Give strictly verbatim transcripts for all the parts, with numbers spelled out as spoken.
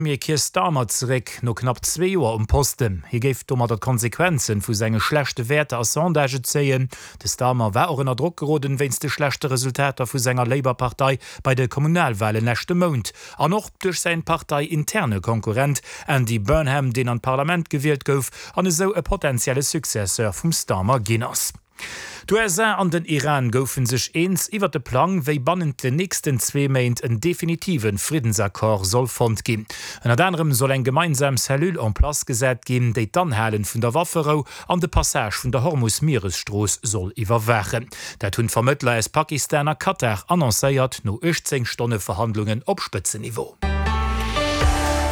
Premier Keir Starmer zeréck, no knapp zwee Joer um Posten. Hie géif domadder d'Konsequenzen vu senge schlechte Wäerter a Sondagë zéien. De Starmer war och ënner Drock geroden, wéinst de schlechte Resultater vu senger Labour-Partei bei de Kommunalwalen leschte Mount an och duerch säin parteiinterne Konkurrent Andy Burnham, deen an d'Parlament gewielt gouf an esou e potentielle Successeur vum Starmer ginn ass. D'USA an den Iran goufe sech eens iwwert de Plang, wéi bannent den nächsten zwee Méint en definitive Friddensaccord soll fonnt ginn. Ënnert anerem soll eng gemeinsam Cellule en place gesat ginn, déi d'Anhale vun der Wafferou an de Passage vun der Hormus-Mieresstrooss soll iwwerwaachen. Dat hunn d'Vermëttler aus Pakistan a Katar annoncéiert, no uechtzéng Stonne Verhandlungen op Spëtzenniveau.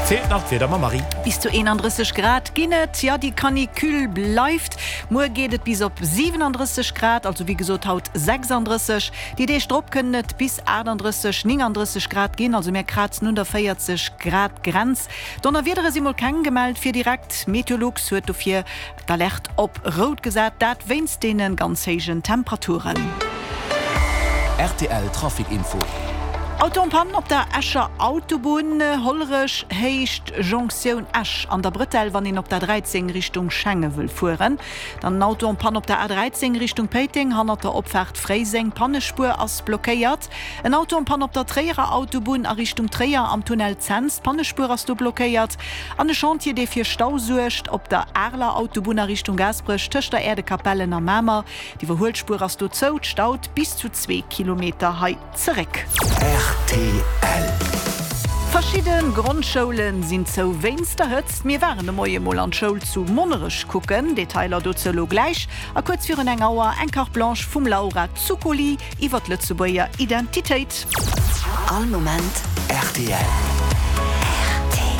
Feelt nach d'Wieder mam Marie. Bis zu eenandrësseg Grad ginn et, jo déi Canicule bleift. Muer geet et bis op siwenandrësseg Grad, also wéi gesot haut sechsandrësseg. Déi Deeg drop kënnen et bis achtandrësseg, néngandrësseg Grad ginn, also mir krazen un der véierzeg Grad Grenz. Donnerwiedere si mol keng gemellt fir direkt. Meteolux huet dofir d'Alerte op rout gesat, dat wéinst deene ganz héijen Temperaturen. Rtl Trafic Info. Auto en panne op der Escher Autobunn, Hollerech, Héicht Jonktioun Esch an der Bretelle, wann een op der dräizéng Richtung Schengen wëll fueren. Dann en Auto en panne op der A dräizéng Richtung Péiteng, hannert der Opfaart Fréiseng, d'Pannespuer ass blockéiert. En Auto en panne op der Tréierer Autobunn a Richtung Tréier am Tunnel Cents, d'Pannespuer ass do blockéiert. An e Chantier, dee fir Stau suergt op der Areler Autobunn a Richtung Gaasperech tëscht der Äerdekapellen a Mamer. D'Iwwerhuelspuer ass do zou, et staut bis zu zwee Kilometer hei zeréck. Rtl. Verschidde Grondschoule sinn zou wéinst der Hëtzt. Mir waren de Moie mol an d'Schoul zu Monnerech kucken. Detailer dozou elo gläich. A kuerz virun eng Auer eng Carte Blanche vum Laura Zuccoli iwwer d'Lëtzebuerger Identitéit. All Moment rtl. Rtl.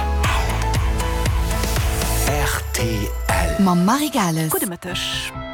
Rtl. Mam Marie Gales. Gudde Mëtteg.